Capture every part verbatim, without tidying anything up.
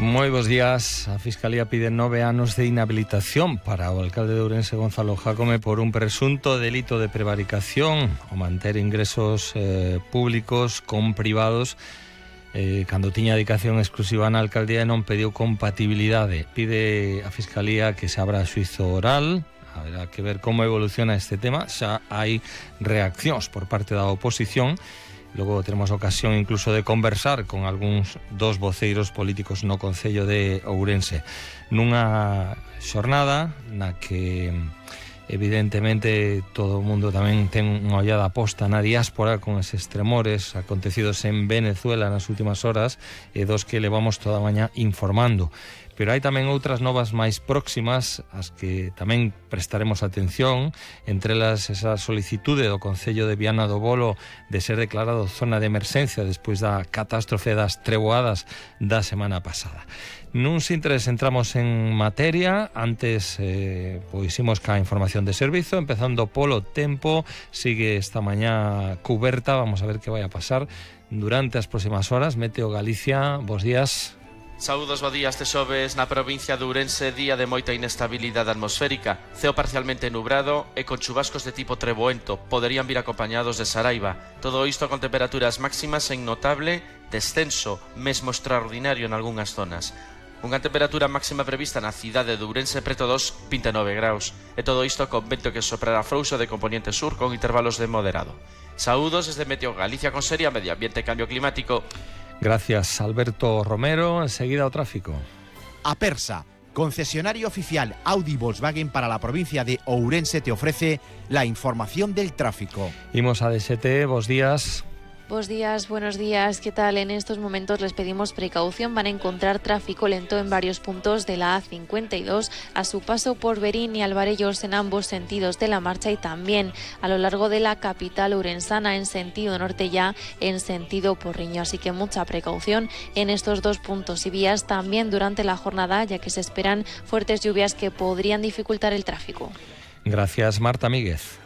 Moi bons días. A Fiscalía pide nove anos de inhabilitación para o alcalde de Ourense, Gonzalo Jácome, por un presunto delito de prevaricación o manter ingresos eh, públicos con privados eh, cando tiña dedicación exclusiva na alcaldía e non pediu compatibilidade. Pide a Fiscalía que se abra xuizo oral. Haberá que ver como evoluciona este tema. Xa hai reaccións por parte da oposición. Logo teremos ocasión incluso de conversar con algúns dos voceiros políticos no Concello de Ourense, nunha xornada na que evidentemente todo o mundo tamén ten unha ollada posta na diáspora con eses tremores acontecidos en Venezuela nas últimas horas e dos que levamos toda a mañá informando. Pero hai tamén outras novas máis próximas as que tamén prestaremos atención, entre elas esa solicitude do Concello de Viana do Bolo de ser declarado zona de emerxencia despois da catástrofe das treboadas da semana pasada. Nun sintres entramos en materia. Antes eh, pois imos ca información de servizo, empezando polo tempo. Sigue esta mañá cuberta, vamos a ver que vai a pasar durante as próximas horas. Meteo Galicia, bos días. Saúdos, bo día. Este xoves na provincia de Ourense, día de moita inestabilidade atmosférica, ceo parcialmente nubrado e con chubascos de tipo treboento, poderían vir acompañados de saraiva. Todo isto con temperaturas máximas en notable descenso, mesmo extraordinario en algunhas zonas. Unha temperatura máxima prevista na cidade de Ourense preto dos vinte e nove graus, e todo isto con vento que soprará frouxo de componente sur con intervalos de moderado. Saúdos desde Meteo Galicia con Seria Medio Ambiente e Cambio Climático. Gracias, Alberto Romero. Enseguida o tráfico. Apersa, concesionario oficial Audi Volkswagen para la provincia de Ourense, te ofrece la información del tráfico. Imos a D S T, bos días. Buenos días, buenos días. ¿Qué tal? En estos momentos les pedimos precaución. Van a encontrar tráfico lento en varios puntos de la A cincuenta y dos a su paso por Berín y Alvarellos en ambos sentidos de la marcha, y también a lo largo de la capital ourensana en sentido norte, ya en sentido Porriño. Así que mucha precaución en estos dos puntos y vías también durante la jornada, ya que se esperan fuertes lluvias que podrían dificultar el tráfico. Gracias, Marta Míguez.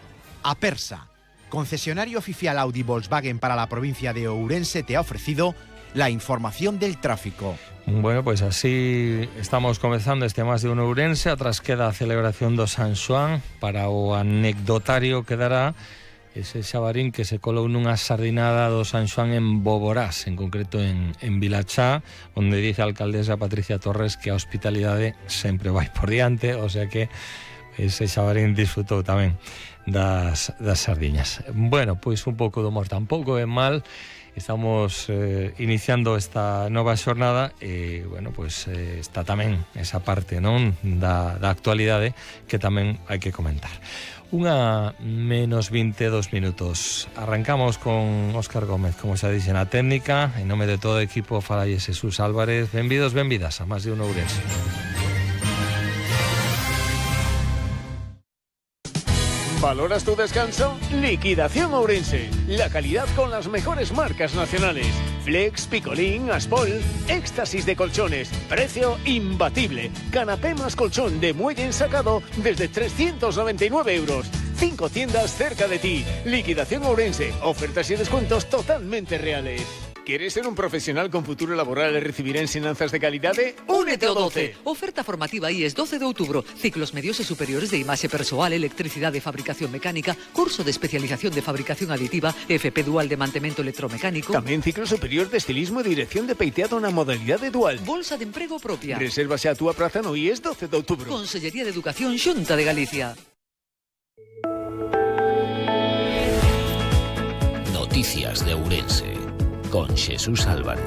Apersa, concesionario oficial Audi Volkswagen para la provincia de Ourense, te ha ofrecido la información del tráfico. Bueno, pues así estamos comenzando este Más de Uno Ourense. Atrás queda a celebración do San Xoán. Para o anecdotario quedará ese xabarín que se colou nunha sardinada do San Xoán en Boborás, en concreto en, en Vilachá, onde dice a alcaldesa Patricia Torres que a hospitalidade sempre vai por diante, o sea que ese xabarín disfrutou tamén das, das sardiñas. Bueno, pois un pouco de humor tampouco é mal. Estamos eh, iniciando esta nova xornada e, bueno, pois eh, está tamén esa parte, non, da, da actualidade que tamén hai que comentar. Unha menos vinte e dous minutos. Arrancamos con Óscar Gómez, como xa dixe na técnica. En nome de todo o equipo falalle Jesús Álvarez. Benvidos, benvidas a Más de Uno Ourense. ¿Valoras tu descanso? Liquidación Ourense. La calidad con las mejores marcas nacionales. Flex, Picolín, Aspol. Éxtasis de colchones. Precio imbatible. Canapé más colchón de muelle ensacado desde trescientos noventa y nueve euros. Cinco tiendas cerca de ti. Liquidación Ourense. Ofertas y descuentos totalmente reales. ¿Quieres ser un profesional con futuro laboral e recibir ensinanzas de calidade? Únete ao doce. Oferta formativa I E S doce de outubro. Ciclos medios e superiores de imaxe persoal, electricidade e fabricación mecánica, curso de especialización de fabricación aditiva, F P dual de mantemento electromecánico. Tamén ciclo superior de estilismo e dirección de peiteado na modalidade dual. Bolsa de emprego propia. Resérvase a túa praza no I E S doce de outubro. Consellería de Educación, Xunta de Galicia. Noticias de Ourense con Jesús Álvarez.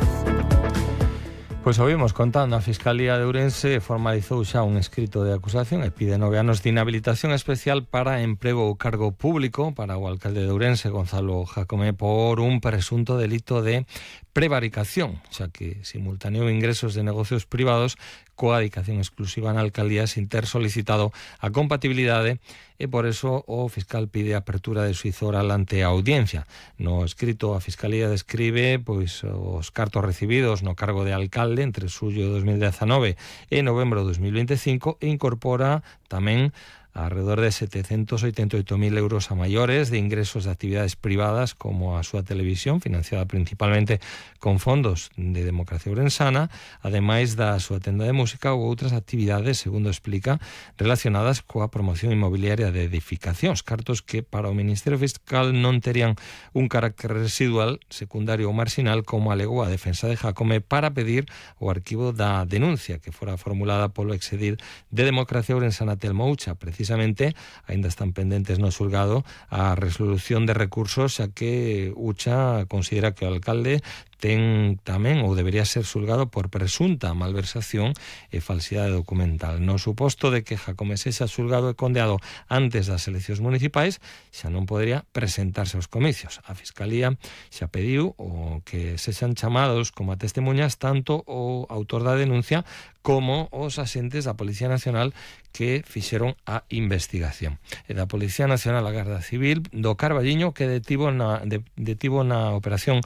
Pois ouvimos contando, a Fiscalía de Ourense formalizou xa un escrito de acusación e pide nove anos de inhabilitación especial para emprego ou cargo público para o alcalde de Ourense, Gonzalo Jácome, por un presunto delito de prevaricación, xa que simultaneou ingresos de negocios privados coa dedicación exclusiva na alcaldía sin ter solicitado a compatibilidade, e por eso o fiscal pide a apertura de xuízo oral ante a audiencia. No escrito, a Fiscalía describe pois os cartos recibidos no cargo de alcalde entre xullo de dos mil dezanove e novembro de dos mil vinte e cinco e incorpora tamén alrededor de setecientos ochenta y ocho mil euros a maiores de ingresos de actividades privadas como a súa televisión, financiada principalmente con fondos de Democracia Ourensana, ademais da súa tenda de música ou outras actividades, segundo explica, relacionadas coa promoción inmobiliaria de edificacións, cartos que para o Ministerio Fiscal non terían un carácter residual, secundario ou marxinal, como alegou a defensa de Jácome para pedir o arquivo da denuncia que fora formulada polo exedil de Democracia Ourensana Telmo Ucha. Precisamente, aínda están pendentes no xulgado a resolución de recursos, xa que Ucha considera que o alcalde ten tamén ou debería ser xulgado por presunta malversación e falsidade documental. No suposto de que Jácome sexa xulgado e condeado antes das eleccións municipais, xa non podería presentarse aos comicios. A Fiscalía xa pediu o que sexan chamados como a testemunhas tanto o autor da denuncia como os asentes da Policía Nacional que fixeron a investigación. E da Policía Nacional a Garda Civil do Carballiño, que detivo na, de, detivo na operación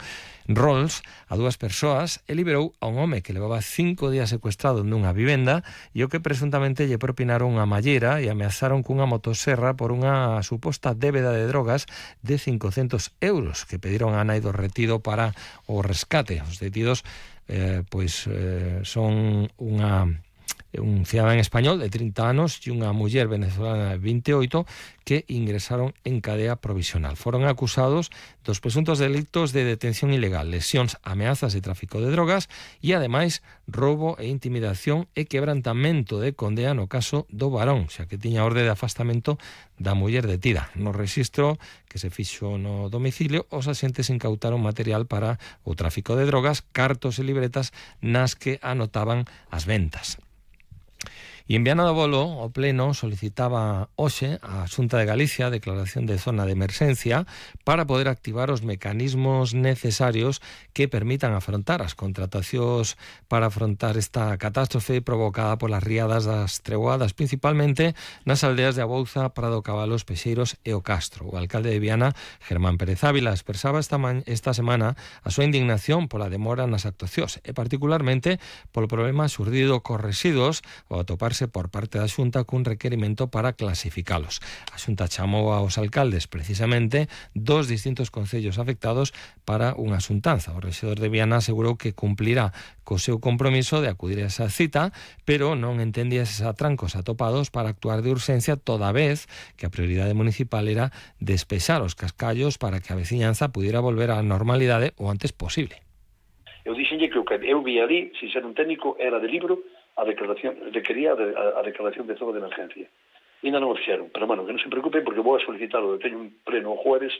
Rolls a dúas persoas e liberou a un home que levaba cinco días secuestrado nunha vivenda e o que presuntamente lle propinaron unha mallera e ameazaron cunha motoserra por unha suposta débeda de drogas de cincocentos euros que pediron a nai do retido para o rescate. Os detidos eh, pois eh, son unha un cidadán español de trinta anos e unha muller venezolana de vinte e oito que ingresaron en cadea provisional. Foron acusados dos presuntos delitos de detención ilegal, lesións, ameazas e tráfico de drogas e, ademais, roubo e intimidación e quebrantamento de condea no caso do varón, xa que tiña orde de afastamento da muller detida. No rexistro que se fixo no domicilio, os axentes incautaron material para o tráfico de drogas, cartos e libretas nas que anotaban as ventas. E en Viana do Bolo, o Pleno solicitaba hoxe a Xunta de Galicia a declaración de zona de emerxencia para poder activar os mecanismos necesarios que permitan afrontar as contratacións para afrontar esta catástrofe provocada polas riadas das treboadas, principalmente nas aldeas de Abouza, Prado Cabalos, Pexeiros e o Castro. O alcalde de Viana, Germán Pérez Ávila, expresaba esta, esta semana a súa indignación pola demora nas actuacións e particularmente polo problema xurdido cos residuos ao atopar por parte da Xunta cun requerimento para clasificalos. A Xunta chamou aos alcaldes precisamente dos distintos concellos afectados para unha xuntanza. O rexedor de Viana asegurou que cumplirá co seu compromiso de acudir a esa cita, pero non entendía eses atrancos atopados para actuar de urxencia, toda vez que a prioridade municipal era despexar os cascallos para que a veciñanza pudiera volver á normalidade o antes posible. Eu dixenlle que o que eu vi ali, sin ser un técnico, era de libro a declaración, requería a, a declaración de zona de emergencia. E non o fixeron, pero, bueno, que non se preocupen porque vou a solicitarlo. Teño un pleno o jueves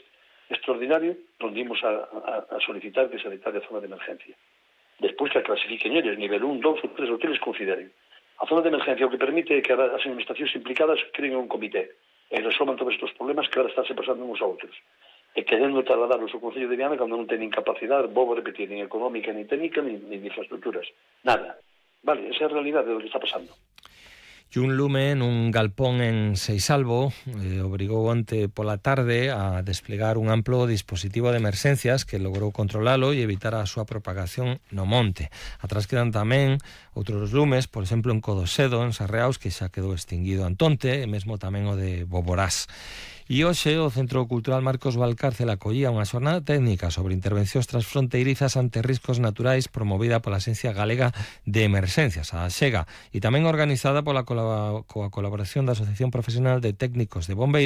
extraordinario onde imos a, a, a solicitar que se declare a zona de emergencia. Despois que a clasifiquen eles, nivel un, dos ou tres, o que les consideren. A zona de emergencia o que permite que as administracións implicadas creen un comité e resolvan todos estes problemas que ahora estáse pasando uns a outros. E querendo trasladarlos ao Concello de Viana cando non teñen capacidade, vou repetir, nin económica, nin técnica, nin, nin infraestructuras. Nada. Vale, esa é a realidade do que está pasando. E un lume nun galpón en Seisalvo eh, obrigou onte pola tarde a desplegar un amplo dispositivo de emerxencias que logrou controlalo e evitar a súa propagación no monte. Atrás quedan tamén outros lumes, por exemplo en Codosedo, en Sarreaus, que xa quedou extinguido Antonte, e mesmo tamén o de Boborás. E hoxe o Centro Cultural Marcos Valcárcel acollía unha xornada técnica sobre intervencións transfronteirizas ante riscos naturais promovida pola Axencia Galega de Emerxencias, a AXEGA, e tamén organizada pola coa colaboración da Asociación Profesional de Técnicos de Bombeiros